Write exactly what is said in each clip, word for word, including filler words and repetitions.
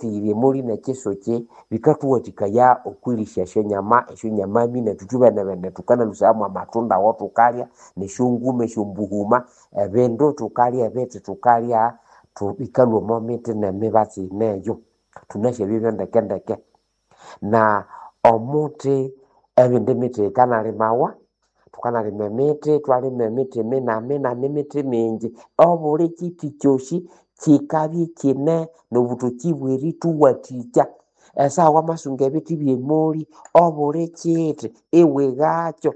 Emiti yiri emoli n'ekisuki bikathuwathikaya okwirisya esyonyama, esyonyamami nethu ithwibene thukanalũsaya mwamatunda awathukalya, nesyonguma esyombuhuma, ebindu thukalya ebithi thukalya bikalhwa omo mithi n'emibatsi yineyo. Thunasi ebyo byandekendeke. Na omuthi ebindi mithi yikanalimawa, thukanalima emithi, ithwalima emithi minamina emithi mingi. Obuli kyithi kyosi kyikabya ikyine n'obuthoki bw'erithuwathikya. Esaha wamasunga ebithi by'emoli, obuli kyithi iwighakyo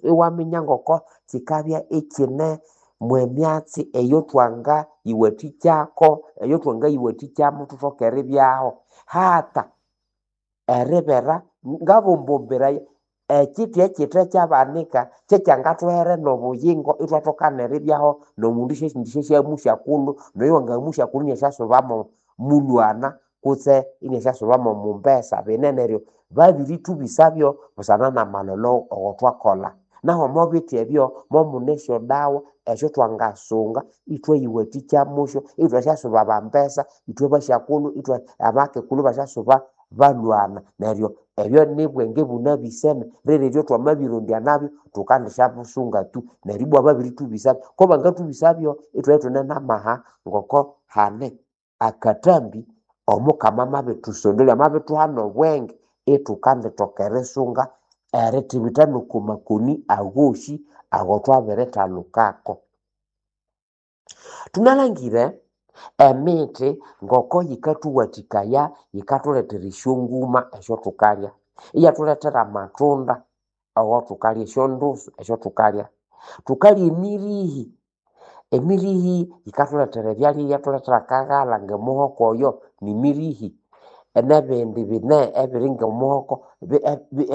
iwaminya ngoko kyikabya ikyine mw'emyatsi eyothwangayiwathikyako, eyothwangayiwathikyamu thuthoke eribyaho. Hata eribera ngabombomberaye ekyithi ekyithe kyabanika kyekyangathuhere n'obuyingo ithwathoka neribyaho n'omundu syasindi syasyamusyakulhu, noyo wangamusyakulhu iniasyasubamo mulhwana kutse iniasyasubamo mumbesa. Bine neryo babirithubisabyo busana n'amalholo awathwakolha. Naho omo bithi ebyo momune esyodawa esyothwangasunga ithwayiwathikyamusyo ithwasyasuba bambesa, ithwe basyakulhu, ithwe abakekulhu ibasyasuba balhwana. Neryo ebyo nibwenge bunabisene rireryo thwamabirondya nabyo thukandisyabusunga tu neryo ibwa babirithubisabyo. Kobangathubisabyo ithwabya ithune n'amaha ngoko hane akathambi Omukama amabithusondolya, amabithuha n'obwenge ithukandithoka erisunga erithibitha n'oko makoni agosi agothwabirithalukako. Thunalangire emithi ngoko yikathuwathikaya yikathulethera esyonguma esyothukalya, iyathulethera amatunda awathukalya, esyondusu esyothukalya. Thukalya emirihi, emirihi yikathulethera ebyalya iyathulethera akaghalha ng'omuhoko oyo nimirihi, n'ebindi bine ebiri ng'omuhoko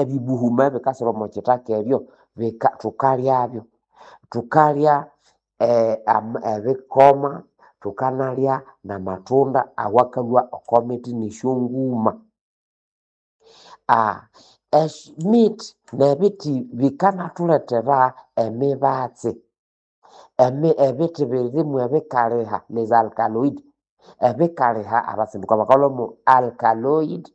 ebibuhuma ebikasira omo kithaka ebyo bika thukalyabyo. Thukalya ebikoma, thukanalya n'amatunda awakalhwa oko mithi n'esyonguma. Emithi n'ebithi bikanathulethera emibatsi, ebithi birimu ebikaliha les alkaloid, ebikaliha abatsinduka bakalhwamo alkaloid.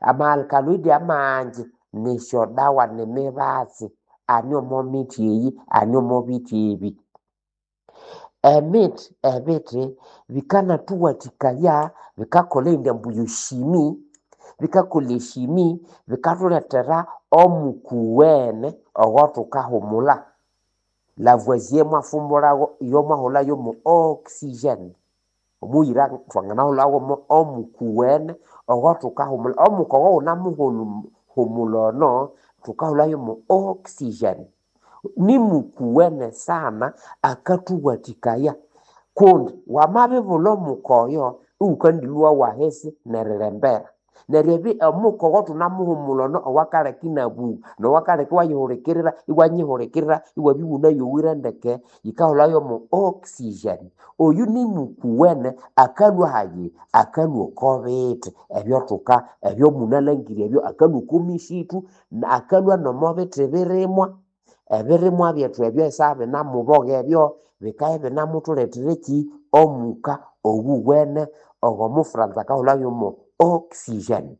Ama alkaloid amangi nisyodawa nimibatsi ane omo mithi eyi, ane omo bithi ebi. Emithi ebithi bikanathuwathikaya bikakolha eyindi ambu yoshimi, bikakolha eshimi bikathulethera omukuwene owothukahumulha. Lavoisier mwafumbulhawo iyo mwahulhayo mo oxygen. Omuyira thwanganahulhawo mo omukuwene owothukahumulha. Omuka owo wunamuhumulha ono thukahulhayo mo oxygen. Nimukuwene sana akathuwathikaya kundi wamabibulha omuka oyo iwukandilhwa wahisi nerilembera. Neryo ebi omuka owathunamuhumulha ono owakaleka inabugha nowakaleka iwayihulikirira iwanyihulikirira iwabya iwunayowire ndeke yikahulhayo mo oxygen. Oyu nimukuwene akalhwa hayi? Akalhwa oko bithi ebyothuka ebyomunalangire ebyo, akalhwa oko misithu, akalhwa n'omo bithi birimwa, ebirimwa byethu ebyo esaha binamuboga ebyo bikabya ibinamuthulethera eki? Omuka owuwene ogw'omufuranza akahulhayo mo oxygen.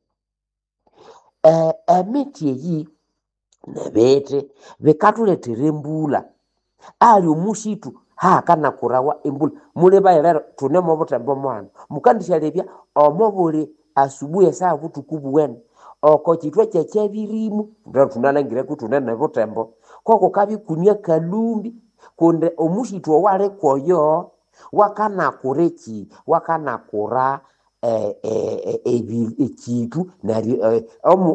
Emithi eyi n'ebithi bikathulethera embulha. Ali omusithu hakanakurawa embulha. Mulebaye lero thune omo buthembo mwahano, mukandisyalebya omo buli asubuhi esaha buthuku buwene oko kyithwa kyekyebirimu lero thunalangire kuthune n'ebuthembo kokukabya ikune akalhumbi kundi omusithu owaliko oyo wakanakura eki? Wakanakura ekyithu neryo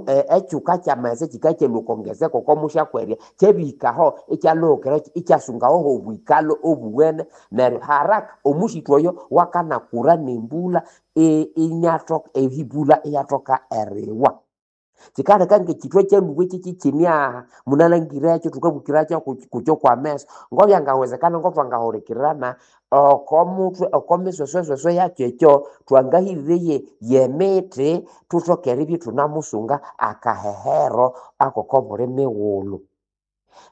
ekyuka ky'amaghetse kyikakyalhwa oko ngeze koko musyakwerya kyabihikaho ikyalhuhukira ikyasungaho h'obwikalho obuwene neryo haraka omusithu oyo wakanakura n'embulha inyathoka ehibulha iyathoka eriwa. Kyikaleka ng'ekyithwa kyalhuba kyikyikine aha munalhangirekyo thukabukiracho kukyo kw'ameso ngobyangawezekana ngothwangahulikirana oko muthwe oko misweswesweswe yakyo ekyo thwangahirire y'emithi thuthoke eribya ithunamusunga akahehero ak'oko buli mighulhu.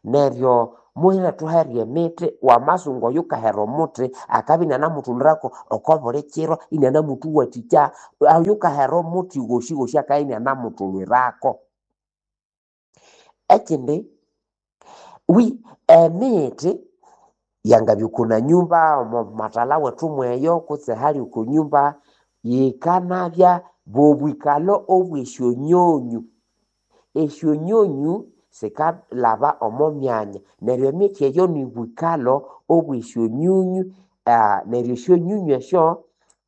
Neryo Muhire thuhere emithi, wamasunga oyo ukahera omuthi akabya inianamuthulhirako oko buli kiro inianamuthuwathikya. Oyo ukahera omuthi ghosi ghosi akabya inianamuthulhirako. Ekindi, wi emithi yangabya oko nanyumba omo mathalha wethu mweyo kutse hali oko nyumba, yikanabya bobwikalho obw'esyonyonyu. Esyonyonyu sikalhaba omo myanya neryo emithi eyo nibwikalho obw'esyonyonyu, ah, neryo esyonyonyu esyo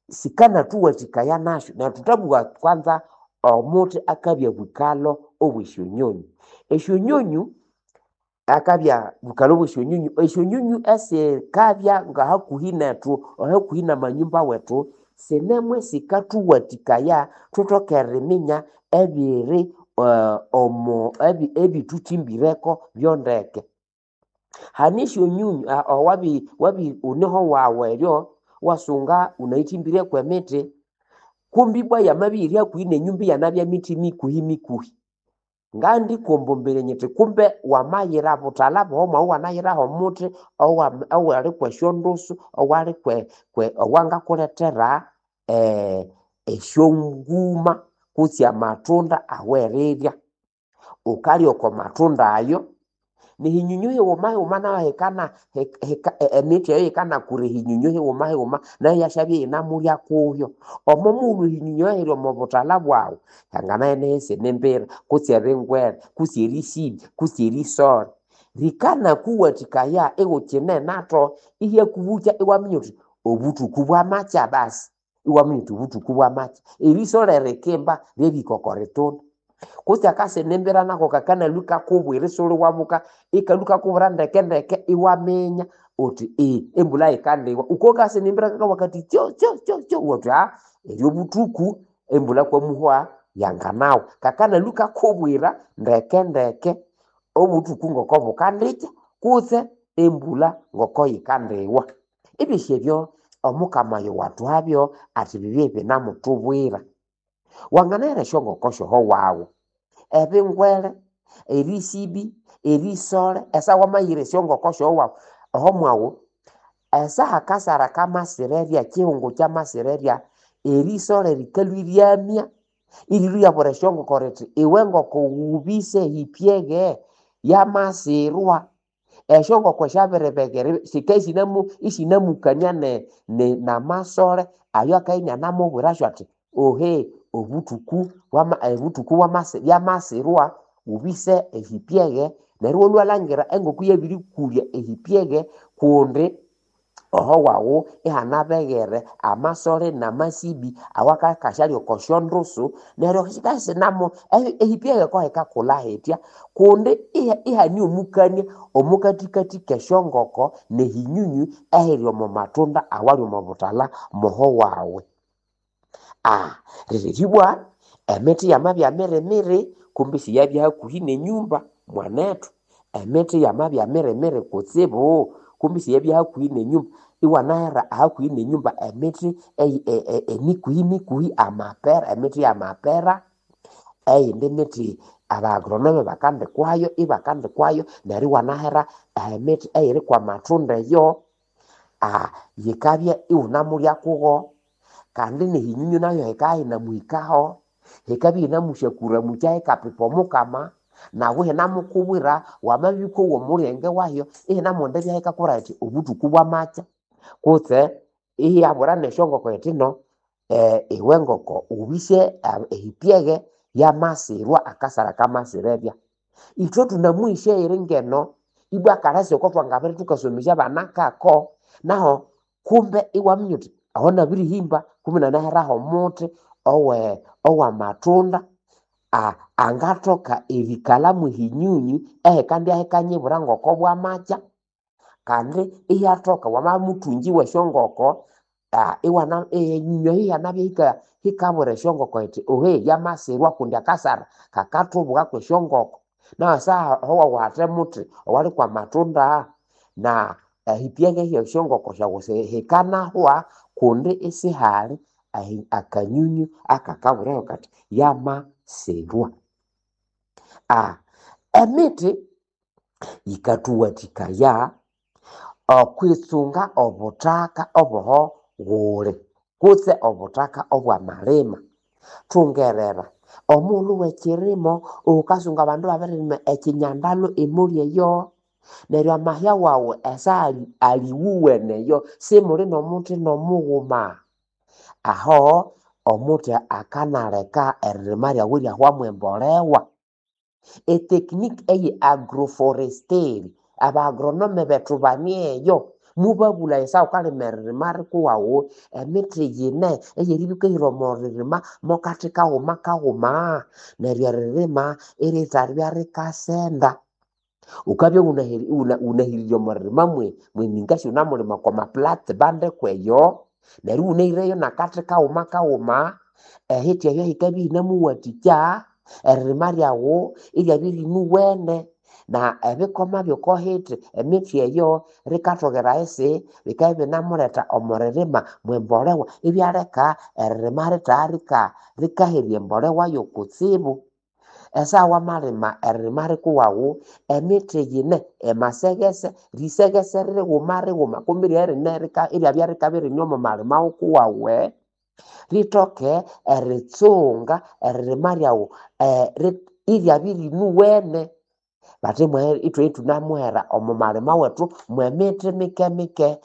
sikanathuwathikaya nasyo. Neryo thuthabugha kwanza omuthi akabya bwikalho obw'esyonyonyu. Esyonyonyu akabya bwikalho obw'esyonyonyu, esyonyonyu esikabya ngahakuhi nethu hakuhi n'amanyumba wethu, sinemwe sikathuwathikaya thuthoke eriminya ebiri omo ebithuthimbireko byondeke. Hane esyonyonyu owabi wabi wuneho wawu eryo iwasunga wunayithimbire kw'emithi, kumbi ibwa yamabya iyiri hakuhi n'enyumba iyanabya mithi mikuhi mikuhi. Ngandikombomberya nyithi kumbe wamayira buthalha bwawu mwawu iwanayiraho omuthi owa owali kw'esyondusu owali kwe kwe owangakulethera esyonguma kutse amatunda awerirya. Wukalya oko matunda ayo, n'ehinyunyu highuma highuma nayo hikana hika emithi eyo yikanakura ehinyunyu highuma highuma nayo iyasyabya iyinamulya kuyo. Omo mughulhu ehinyunyu ehiri omo buthalha bwawu, hangana isinembera kutse ebingwere kutse erisibi kutse erisole, rikanakuwathikaya iwukine natho ihyakubukya iwaminya wuthi obuthuku bwamakya basi, iwaminya wuthi obuthuku bwamakya. Erisole rikimba ryerihika oko ritunda. Kutse akasinembera nako kakanalwa ikakubwira isiwuliwabuka, ikalhwa ikakubwira ndeke ndeke iwaminya wuthi embulha yikandiwa. Wukowa akasinembera kakabugha kathi tsyo tsyo tsyo tsyo iwabugha wuthi aa eri obuthuku embulha kwamuhwa yanganawa. Kakanalwa ikakubwira ndeke ndeke obuthuku ngoko bukandikya kutse embulha ngoko yikandiwa. Ebyosi ebyo Omukama oyo wathuhabyo athi bibye ibinamuthubwira. Wanganahera esyongoko syoho wawu, ebingwere, erisibi, erisole, esaha wamayira esyongoko syoho wawu oho mwawu, esaha akasara kamasira erya, ekihungu kyamasira erya, erisole rikalhwa iryamya irilhwa iryabwira esyongoko rithi iwe ngoko wubise hipyeghe yamasirwa. Esyongoko syabiribegere sikabya isinamu isinamukania ne ne namasole ayo akabya inianamubwirasyo athi ohe obuthuku bwama obuthuku bwamasi byamasirwa wubise ehipyeghe. Neryo iwalhwa iwalhangira engoko iyabirikulya ehipyeghe kundi oho wawu ihanabeghere amasole namasibi awakakasyalya oko syondusu neryo sikabya isinamu ehipyeghe kohikakulha hitya kundi ihane omukania omukathikathi k'esyongoko n'ehinyunyu ehiri omo matunda awali omo buthalha moho wawe. Ah, riri ibwa emithi yamabya mirimiri kumbi isiyabya hakuhi n'enyumba mwanethu. Emithi yamabya mirimiri kutsibu kumbi isiyabya hakuhi n'enyumba, iwanahera hakuhi n'enyumba emithi emikuhi mikuhi amapera, emithi y'amapera, eyindi mithi aba agronome bakandikwayo ibakandikwayo neryo iwanahera emithi eyiri kw'amatunda eyo, ah, yikabya iwunamulya kugo kandi n'ehinyunyu nayo yikabya yinamuhikaho, yikabya yinamusyakuramukya yikapipa Omukama, nawu ihinamukubwira wamabya wukowa omulyenge wahyo ihinamughenda ibya yikakubwira yithi obuthuku bwamakya kutse iyabwira n'esyongoko yithi no iwe ngoko wubise ehipyeghe yamasirwa akasara kamasira erya. Ithwe thunamuhisya eyiri ngeno ibwa akalasi oko thwangabere thukasomesya abana kako, naho kumbe iwaminya wuthi aho nabirihimba kumbe nanaheraho omuthi owe ow'amatunda angathoka erikalha mwehinyunyu ehikandya hikanyibwira ngoko bwamakya kandi iyathoka wamabya muthungi w'esyongoko iwana ehinyunyu eyo iyanabya hika hikabwira esyongoko yithi ohe yamasirwa kundi akasara kakathubugha kw'esyongoko. Nahu esaha aho wawu hathe muthi owali kw'amatunda na ehipyeghe h'esyongoko syawu hikanahwa kundi isihali akanyunyu akakabwirayo kathi yamasirwa. Emithi Yikathuwathikaya okwitsunga obuthaka oboho ghuli kutse obuthaka obwamalima. Thungerera omughulhu w'ekyirimo ghukasunga abandu ibabirilima ekyinyandalho emoli eyo, neryo amahya wawu esa ali aliwuwene eyo simuli n'omuthi n'omughuma. Aho omuthi akanaleka eririma lyawu iryahwamu embolewa. Etekiniki eye agroforestry, aba agronome bethu bane eyo, mubabulaya esaha ghukalima eririma likuwawu emithi yine eyeribya ghukahira omo ririma mokathi kaghuma kaghuma neryo eririma irithabya rikasenda. Ghukabya ghunahiri ghunahirire omo ririma mwe mweminga sighunamulima okwa maplat band kweyo, neryo ighunahirayo nakathi kaghuma kaghuma, ehithi eyo yikabya iyinamuwathikya eririma lyawu iryabya irinuwene na ebikoma by'oko hithi emithi eyo rikathogera ahisi bikabya ibinamuletha omo ririma mwembolewa ibyaleka eririma ritagha rikaherya embolewa yokutsibu. Esaha wamalima eririma likuwawu emithi yine emaseghese, riseghese righuma righuma kumbi ryerine iryabya rikabya irine omo malima wukuwawe, rithoke eritsunga eririma lyawu iryabya irinuwene. Bathimughe ithwe ithunamuhera omo malima wethu mwemithi mike mike.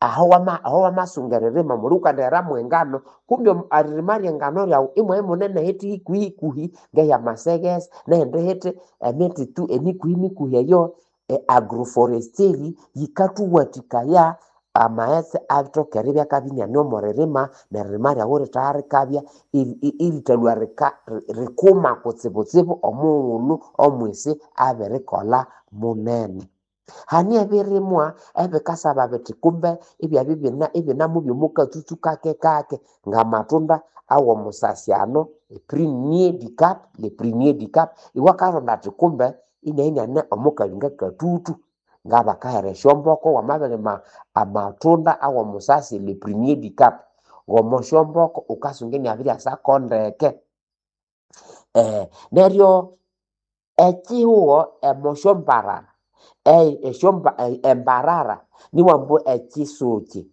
Aho wama aho wamasunga eririma muli ghukandighera mwengano kumbi eririma lyengano lyawu imwabya imunene ehithi hikuhi hikuhi ngeyamaseghese neyindi hithi emithi tu emikuhi mikuhi eyo agroforestry yikathuwathikaya amaghetse athoke eribya akabya iniane omo ririma neririma lyawu iritagha rikabya irithalhwa rika rikuma kutsibutsibu omughulhu omwisi abirikolha munene. Hane ebirimwa ebikasaba bithi kumbe ibyabya ibinamu by'omukatsutsu kake kake ng'amatunda aw'omusasyano eprunier du Cap, le prunier du Cap, iwakaronda athi kumbe inabya iniane omukalinga katutu ngabakahera esyomboko wamabirima amatunda aw'omusasi le prunier du Cap, ng'omosyomboko ghukasunga iniabiryasako ndeke. Neryo ekyihugho omosyombarara embarara niwambu ekyisuki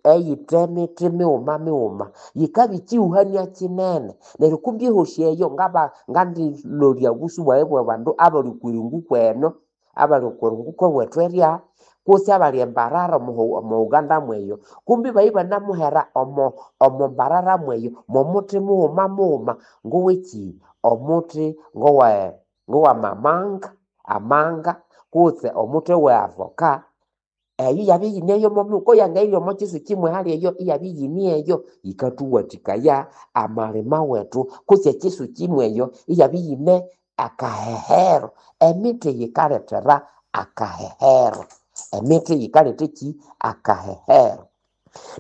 eyithe mithi mighuma mighuma yikabya ekyihuhania kyinene neryo kumbi ehosi eyo ngaba ngandilolya obusu bwayi bw'abandu abali okwiringu kweno, abali okwiringu kwewethu erya kutse abali embarara omo Uganda mweyo, kumbi ibabya ibanamuhera omo omo mbarara mweyo mw'omuthi mughuma mughuma ngowekyi omuthi ngowe ngowamamanga amanga kutse omuthi owe avoka, eyo iyabya iyineyo momughuma koyangayirya omo kyisuki mwehali eyo iyabya iyineyo yikathuwathikaya amalima wethu kutse ekyisuki mweyo iyabya iyine akahehero. Emithi yikalethera akahehero, emithi yikaletha ekyi akahehero.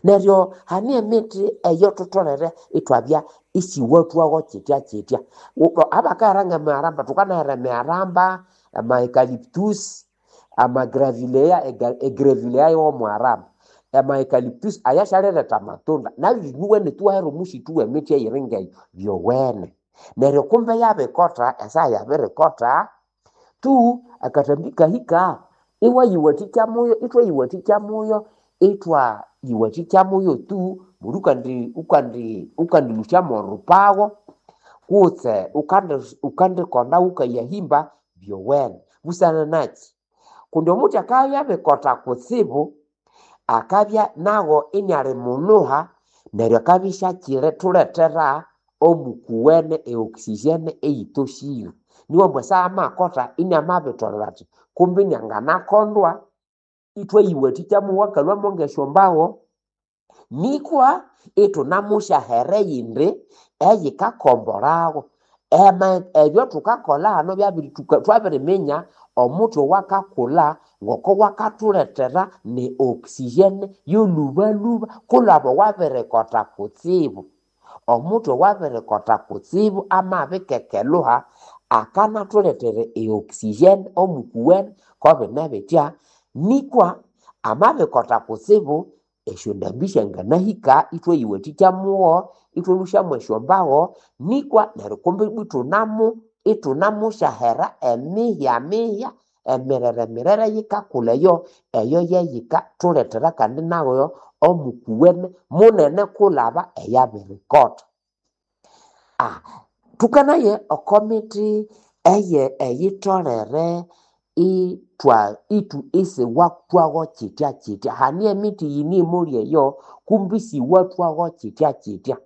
Neryo hane emithi eyothutholere ithwabya isiwathwagho kyitya kyitya. Abakahera ng'emiharamba thukanahera emiharamba, ama eucalyptus, ama gravilea, egravilea yowomuharamba, ama eucalyptus ayasyaliretha amatunda nabyo binuwene thuwahera omusithu w'emithi eyiri ng'eyo byowene. Neryo kumbe yabikotha esaha yabirikotha tu akathambi kahika iwayiwathikya muyo ithwayiwathikya muyo ithwayiwathikya muyo tu muli ukandi ukandi ukandilhusya mw'orupagho kutse ukandi ukandikonda ghukayahimba byowene. Busana nakyi kundi omuthi akabya abikotha kutsibu akabya nagho iniali mulhuha neryo akabya isyakyithulethera omukuwene e oxygen eyithoshire. Niwambu esaha amakotha iniamabitholera athi kumbi inianganakondwa ithwayiwathikya muwo akalhwamo ng'esyombagho nikwa ithunamusyahera eyindi eyikakombolhagho. Ema ebyothukakolha hano byabiri thwabiriminya omuthi owakakulha ngoko wakathulethera ne oxygen y'olhubalhuba kulhaba owabirikotha kutsibu. Omuthi owabirikotha kutsibu amabikekelhuha akanathulethera e oxygen omukuwene kobine bitya nikwa amabikotha kutsibu esyondambi syanganahika ithwayiwathikya mugho ithwalhusya mwesyombagho nikwa neryo kumbi ibwa ithunamu ithunamusyahera emihya mihya. Emirere mirere yikakulha eyo, eyo yeyikathulethera kandi nayo omukuwene munene kulhaba eyabirikotha. Ah, thukanaye oko mithi eye eyitholere ithwa ithu isiwathwagho kyitya kyitya. Hane emithi yine emoli eyo kumbi isiwathwagho kyitya kyitya.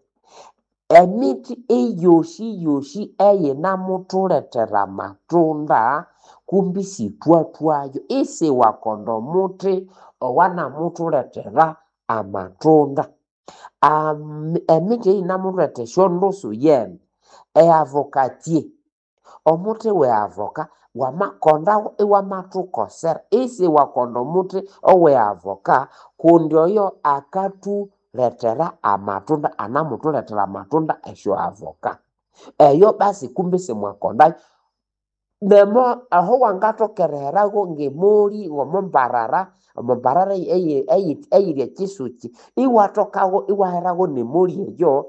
Emithi eyosi yosi eyinamuthulethera amatunda kumbi sithwathwayo, isiwakonda omuthi owanamuthulethera amatunda. Am emithi eyinamuletha esyondusu yene, eavocatier, omuthi we avoka wamakondawo iwamathukosera, isiwakonda omuthi owe avoka kundi oyo akathulethera amatunda, anamuthulethera amatunda esyo avoka. Eyo basi kumbi simwakondayo. Nemo aho wangathoka eriheragho ng'emoli omo mbarara, omo mbarara eyi- eyi- eyiri ekisuki, iwathokago iwaheragho n'emoli eyo,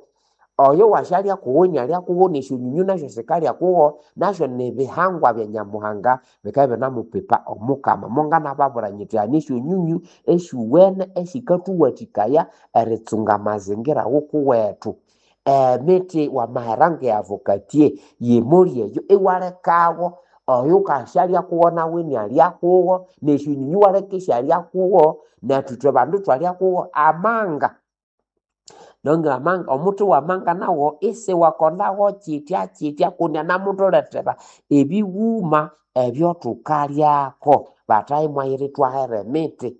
oyo wasyalya kuwo inalya kuwo n'esyonyinyu nasyo sikalya kuwo, nasyo nibihangwa bya Nyamuhanga bikabya ibinamupipa Omukama. Monganababwira nyithi hane esyonyinyu esyuwene esikathuwathikaya eritsunga amazingira wukuwethu. Emithi wamahera nge avocatier y'emoli eyo iwalekawo oyukasyalya kuwo nawu inalya kuwo, n'esyonyinyu iwaleka isyalya kuwo, nethu ithwe bandu ithwalya kuwo. Amanga, nonga amanga omuthi wamanga nawo isiwakondawo kyitya kyitya kundi anamuthulethera ebighuma ebyo thukalyako. Bathayi mwayira ithwahera emiti,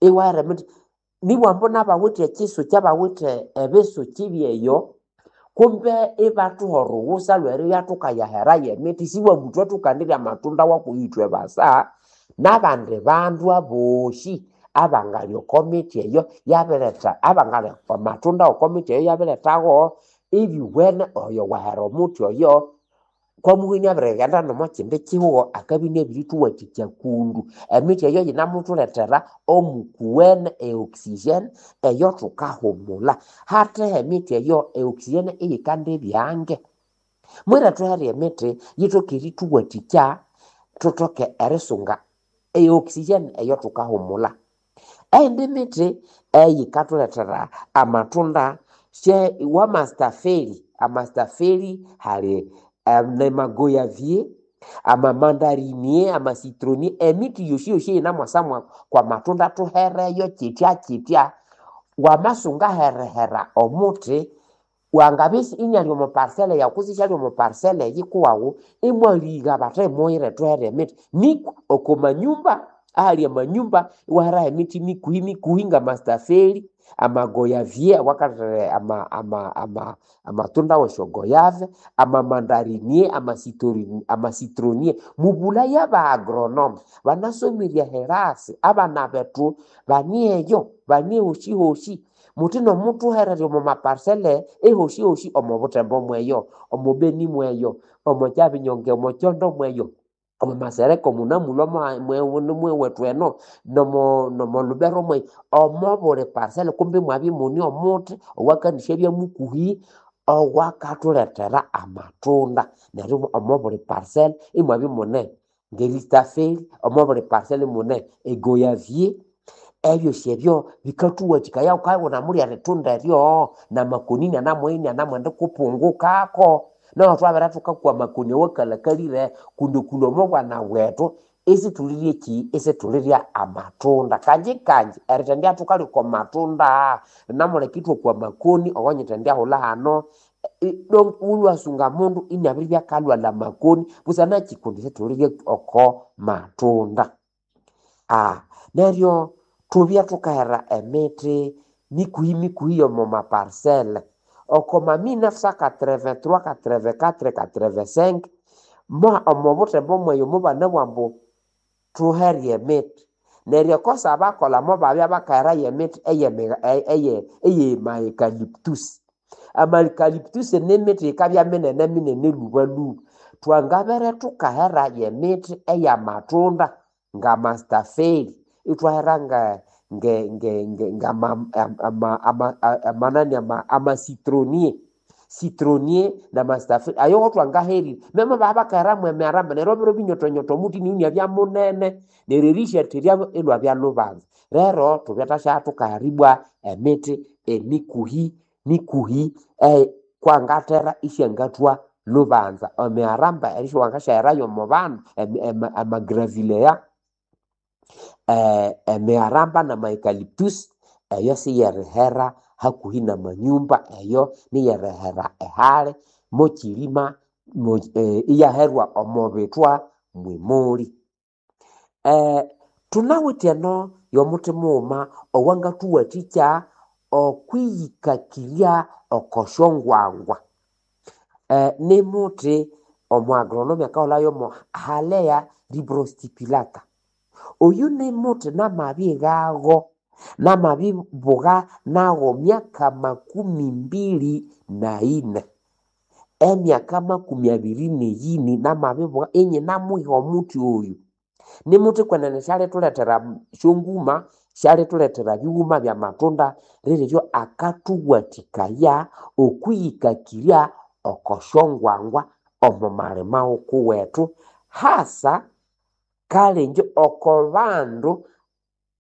iwahera emiti nibwambu nabawithe ekisuki abawithe ebisuki byeyo kumbe ibathuha orughutsa lweribya thukayaherayo emiti, sibwambu ithwe thukandirya amatunda waku ithwe basa, n'abandi bandu abosi abangalya oko miti eyo yabiretha abangalya amatunda oko miti eyo yabirethago ebyuwene oyo wahera omuthi oyo kwamuhi inabirighenda n'omo kindi kihugho akabya inabirituwathikya kundu. Emiti eyo yinamuthulethera omukuwene e oxygen eyo thukahumulha. Hatheho emiti eyo e oxygen eyikandibyange. Mwira thuhere emiti yithoke erithuwathikya thuthoke erisunga e oxygen eyo thukahumulha. Eyindi miti eyikathulethera amatunda sye wamastafeli, amastafeli hali nemagoyavier, amamandarinier, amasitronier, emiti yosi yosi eyinamwasa kwa matunda thuhereyo kyitya kyitya. Wamasunga herihera omuthi wangabya inali omo parcela yawu kutse isyali omo parcela eyikuwawu, imwaligha bathi muyire thuhere emiti nikwa oko manyumba ahali amanyumba iwaheraho emiti mikuhi mikuhi ngamastafeli, amagoyavier awakalethera ama ama ama amatunda wesyogoyave, amamandarinier, amasitori amasitronier. Mubulhaye aba agronome banasomire ehirasi, abana bethu bane eyo bane ehosi hosi, muthi nomuthuhererya omo maparcela ehosi hosi omo Butembo mweyo, omo Beni mweyo, omo Kyabinyonge, omo Kyondo mweyo, omo Masereka munamulhwa mwewethu eno, nomo nomo Lubero mweyo, omo buli parcela kumbi imwabya imune omuthi owakanisyabya mukuhi owakathulethera amatunda. Neryo omo buli parcela imwabya imune ngeristafeli, omo buli parcela imune egoyavier, ebyosi ebyo bikathuwathikaya wukabya iwunemulya erithunda eryo namakoni inanamuya inanamwenda kupungukako. Neryo thwabere thukakwa amakoni awakalhakalire kundi okulhwa omo bwana bwethu isithulirya ekyi isithulirya amatunda. Kanji kanji erithendya thukalya oko matunda linamuleka ithwakwa amakoni awanyithendyahulha hano wulwasunga mundu inabiribya akalhwalha amakoni busana kyi kundi isithulirya oko matunda. Ah, neryo thubye thukahera emithi mikuhi mikuhi y'omo maparcela. Oko ma mille neuf cent quatre-vingt-trois, quatre-vingt-quatre, quatre-vingt-cinq mo omo Butembo mweyo mubanabugha ambu thuhere emiti. Neryo ekosa bakolha mubabya bakaherayo emiti eyemi eye eyema eucalyptus. Ama eucalyptus nimiti yikabya minene minene lhuba lhuba. Thwangabere thukahera y'emiti ey'amatunda ngamastafeli, ithwahera nge nge nge nge ngama ama ama amanani ama amasitronier. citronnier na mastafeli ayo wotwangaherire memo babakaheramu emiaramba neryo biro binyotonyoto omuti niunia munene neryo erisyatheryabo ilwabya lubanza. Rero thubyathasya thukaheribwa emiti emikuhi mikuhi eh, kwangathera isyangathwa lubanza. Emiaramba erisyawangasyaherayo omo bandu amagravilea eh, emiaramba nama eucalyptus eyo siyerihera hakuhi namanyumba, eyo niyerihera ehali mokyirima mo, eh, iyaherwa omo bithwa mwimuli. Eh, thunawithe eno yomuthi mughuma owangathuwathikya okwiyikakirya oko syongwangwa. Eh, nimuthi omu agronomy akahulhayo mo Halea ribrosticulata. Oyu nimuthi namabighago namabibuga nago myaka makumi mbili na ine, emyaka makumi abiri neyini namabibuga inyinamwiha omuthi oyu. Nimuthi kwenene syalithulethera syonguma, syalithulethera bighuma byamatunda, riryo akathuwathikaya okwiyikakirya oko syongwangwa omo malima wukuwethu, hasa kalenje oko bandu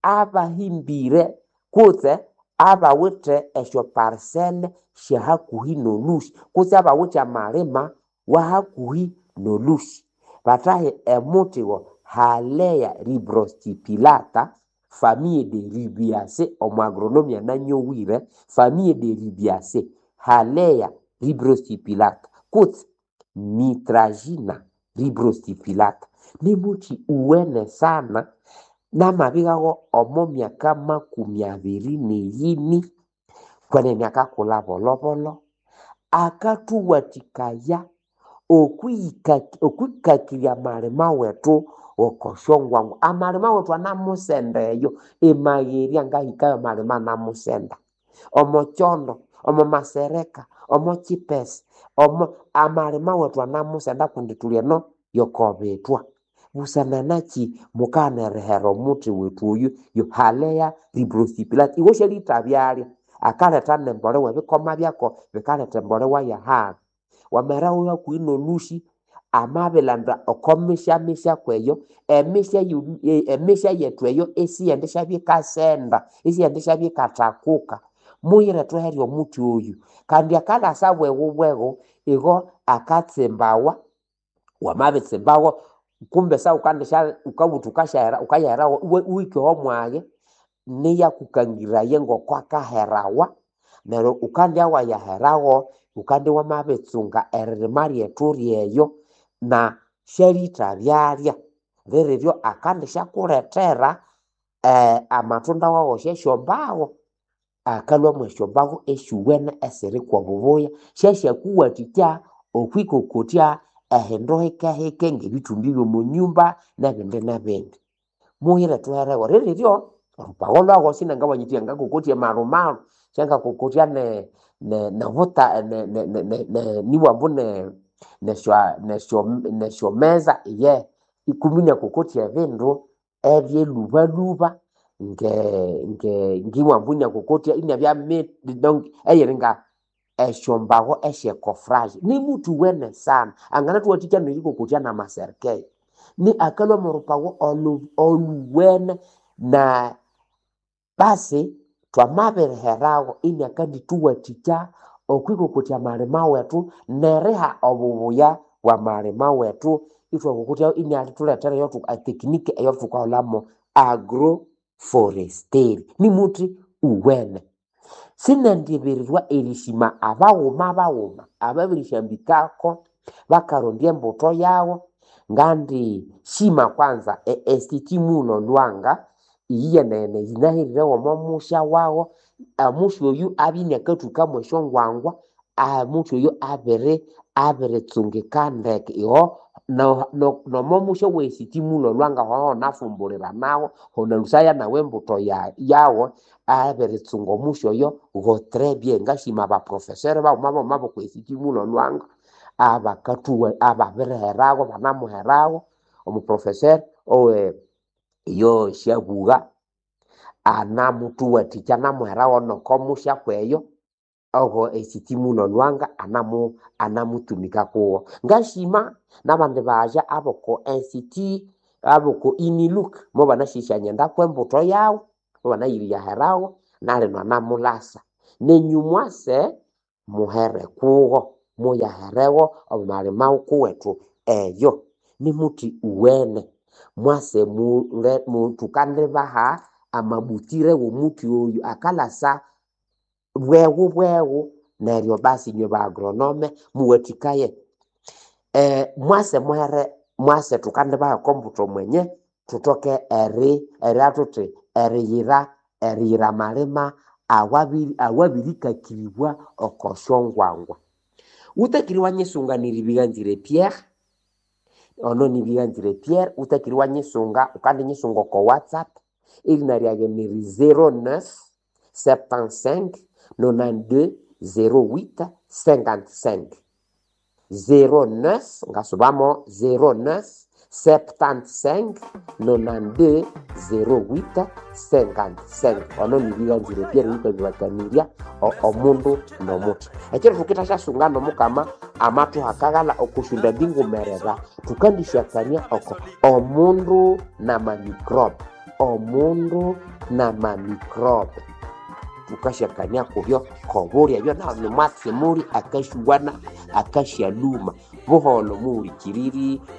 abahimbire kutse abawithe esyo parcelle syahakuhi nolhusi kutse abawithe amalima wa hakuhi nolhusi. Bathahe emuthi wo Halea ribrostipulata famille de Rubiaceae omu agronomy ananyowire famille de Rubiaceae Halea ribrostipulata kutse Mitragina ribrostipulata nimuthi uwene sana namabighago omo myaka makumi abiri neyini kwenene akakulha bolhobolho, akathuwathikaya okwikakirya amalima wethu oko syongwangwa. Amalima wethu anamusenda eyo emagherya ngahikayo amalima anamusenda omo kyondo, omo masereka, omo kipesa, omo amalima wethu anamusenda kundi thuli eno yokobithwa. Busana nakyi mukaghana erihera omuthi wethu oyu yo Halea ribrostipulata. Iwe syalitha byalya akaletha nembolewa ebikoma byako bikaletha embolewa yahali. Wamaheraho hakuhi nolhusi amabilanda oko misya kweyo emisya emisya yethu eyo isiyendisya ikasenda, isiyendisya ikathakuka. Muyire thuherye omuthi oyu kandi akalasa bweghu bweghu igo akatsimbawa, wamabitsimbawo kumbe sawukandisya wukabutha wukasyahera wukayaherawo iwahika omwaghe niyakukangiraya ngoko akaherawa neryo wukandya wayaherawo wukandya wamabitsunga eririma lyethu ryeyo na syalitha byalya liriryo akandisyakulethera eh, amatunda wawo syesyombawo akalhwa mwesyombawo esyuwene esiri kwobubuya syasyakuwathikya okwikokotya ehindu hikehike ngebithumbi byomunyumba nebindi nebindi. Muyire thuherewo liriryo orupago lwago sinangabanya ngakokotya marumaru syangakokotya ne ne nobuta ne ne ne ne nibwambu ne nesyo nesyo nesyomeza iye ikumi inakokotya ebindu ebyelhubalhuba nge nge ngiwambu inakokotya inabya donc eyiringa esyombawo esyekofraje nimuthi uwene sana anganathuwathikya nerikokotya namaserikeli ni akalhwa morupago olu oluwene na basi twamabiriherago iniakandithuwathikya okwikokotya amalima wethu neriha obubuya bwamalima wethu ithwakokotya inialithulethera etekniki eyothukahulhamu agroforestry nimuthi uwene. Sinendibirirwa erishima abaghuma baghuma ababirisyambikako bakarondya embutho yago ngandi shima kwanza e Institut Mulo Lwanga iyiyenene yinaherirewo omo musya wago omusya oyu abya iniakathukamu esyongwangwa omuthi oyu abiri abiritsungika ndeke iho nomo musya owe Institut Mulo Lwanga hoho nafumbulira nawo honalusaya nawu embutho yawo abiritsunga omusya oyo go très bien. Ngashima abaprofesseur baghuma baghuma boko Institut Mulo Lwanga abakathuwa ababiriherago banamuherago omuprofesseur owe iyo syabugha anamuthuwathikya anamuherago noko musya kweyo. Ogo esiti muno Lwanga anamu anamutumika kuwo. Ngashima n'abandi baja aboko N C T aboko Uniluk mo banashisyanyenda kw'embuto yawo, mobanayiriyaherawo nalino anamulasa. Nenyũ mwase muhere kuwo, muyaherewo omo malima kuwetu eyo. Nimuthi uwene mwase mule mu tukandibaha amabutire w'omuthi oyu akalasa bweghu bweghu neryo basi inywe ba agronome muwathikaye. Eh, mwase muhere mwase tukandibaha okombuto mwenye thutoke eri eria thuthi eriyira eriyira amalima awabiri awabirikakiribwa oko syongwangwa. Wutakire iwanyisunga niribighanzire Pierre, ono nibighanzire Pierre, wutakire iwanyisunga ukandinyisunga oko WhatsApp erina ryage niri zero neuf septante-cinq nonante-deux zero huit cinquante-cinq. Zero neuf ngasubamo zero neuf septante-cinq nonante-deux zero huit cinquante-cinq. Ono nibighanzire Pierre wukabibakaniria omundu n'omuthi. Ekiro thukithasyasunga n'omukama amathuha akaghalha okusyunda mbingumerera thukandisyakania oko omundu n'amamicrobe, omundu n'amamicrobe. Thukasyakania kubyo kobulya ebyo nahu nimwatsi muli akasyuwana akasyaluma. Buholho muhulikiriri.